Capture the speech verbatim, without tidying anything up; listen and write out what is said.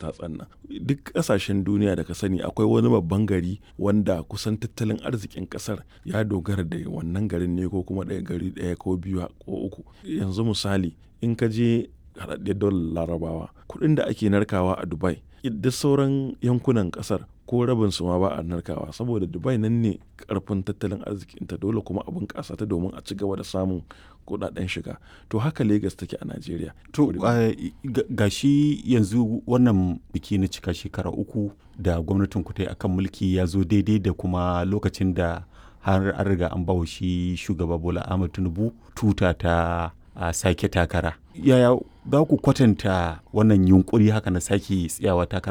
Tatsan nan. Duk ƙasashen duniya da ka sani akwai wani babban gari wanda kusan tattalin arzikin ƙasar ya dogara da wannan garin ne ko kuma ɗaya gari ɗaya ko biyu ko uku. Yanzu misali in ka je haɗaɗɗiyar daular Larabawa, kuɗin da ake narkawa a Dubai duk sauran yankunan ƙasar ko rabin su ma ba a narkawa saboda Dubai nan ne ƙarfin tattalin arzikinta, dole kuma a bunƙasa ta domin a ci gaba da samun kuɗaɗen shiga. To haka Lagos take a Najeriya. To ga shi yanzu wannan biki na cika shekara uku da gwamnatin ku ta yi akan mulki ya zo daidai da kuma lokacin da har an riga an bawa shi shugaba Bola Ahmed Tinubu tuta ta a sake takara. Yaya za ku kwatanta wannan yunkuri haka na sake tsayawa takara?